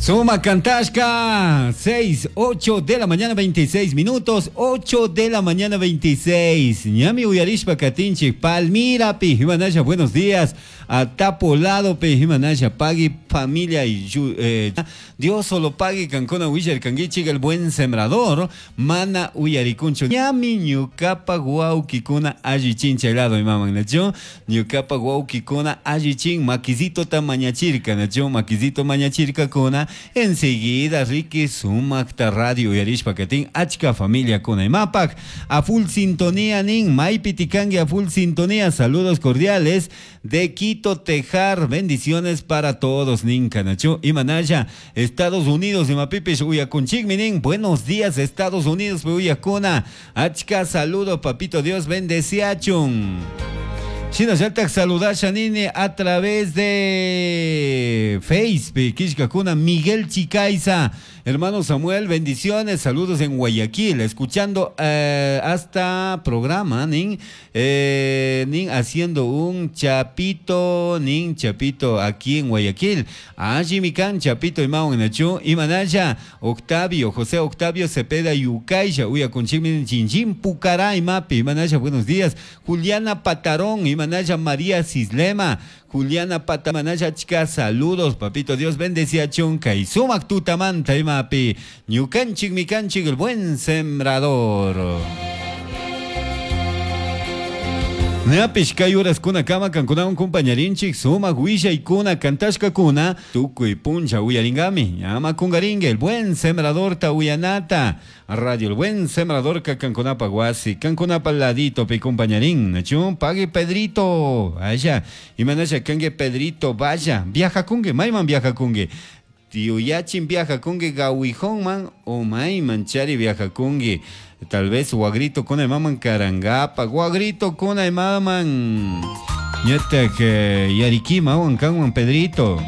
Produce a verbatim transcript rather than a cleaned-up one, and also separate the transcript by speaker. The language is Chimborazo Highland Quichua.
Speaker 1: Suma Cantashka, seis, ocho de la mañana veintiséis minutos, ocho de la mañana veintiséis. Ñami uyarishpa katinchik, Palmira pi, Himanaya, buenos días. Atapolado pi, Himanaya, pagui familia y eh, Dios solo pague kankuna willar kanguichik, el buen sembrador, mana uyarikuncho. Ñami ñukapa guauquikuna allichin chaylado imaman nacho, ñukapa guauquikuna allichin maquisito ta mañachirka nacho, maquisito mañachirka kuna. Enseguida Ricky sumakta radio uyarishpa katin achka familia kuna imapak a full sintonía nin maypi tikangi a full sintonía, saludos cordiales de Quito Tejar, bendiciones para todos nin kanachu imanaya Estados Unidos imapipish uyakunchikmi nin, buenos días Estados Unidos uyakuna achka saludo papito Dios bendeciachun. Shinallatak saludasha nini a través de Facebook, kishkakuna Miguel Chicaiza, hermano Samuel, bendiciones, saludos en Guayaquil, escuchando eh, hasta programa, nin, eh, nin haciendo un chapito, nin chapito aquí en Guayaquil, allí mi can chapito imao en achu, imanaya, Octavio, José Octavio Cepeda Yucaisha, uyakunchikmi chinchín Pucará imapi, imanaya, buenos días, Juliana Patarón, Imanaya María Cislema, Juliana Patamanaya chica, saludos, papito Dios bendecía chunca y sumak tutamanta imapi, ñukanchik mikanchik el buen sembrador. Ñapish kay horas kuna kama kankunawan compañarinchik sumak willaykuna kantashkakuna tukuy puncha uyaringami ñama kungaringue el buen sembrador ta uyanata radio el buen sembrador ka kankunapa wasi kankunapa ladito pi compañarín nachu pague Pedrito vaya imanasha kangue Pedrito vaya viaja kungue mayman viaja kungue tío yachin viaja kungue gawijonman o mayman chari viaja kungue tal vez guagrito con el maman carangapa, guagrito con el maman. Ñatak yarikima wan kanwan Pedrito.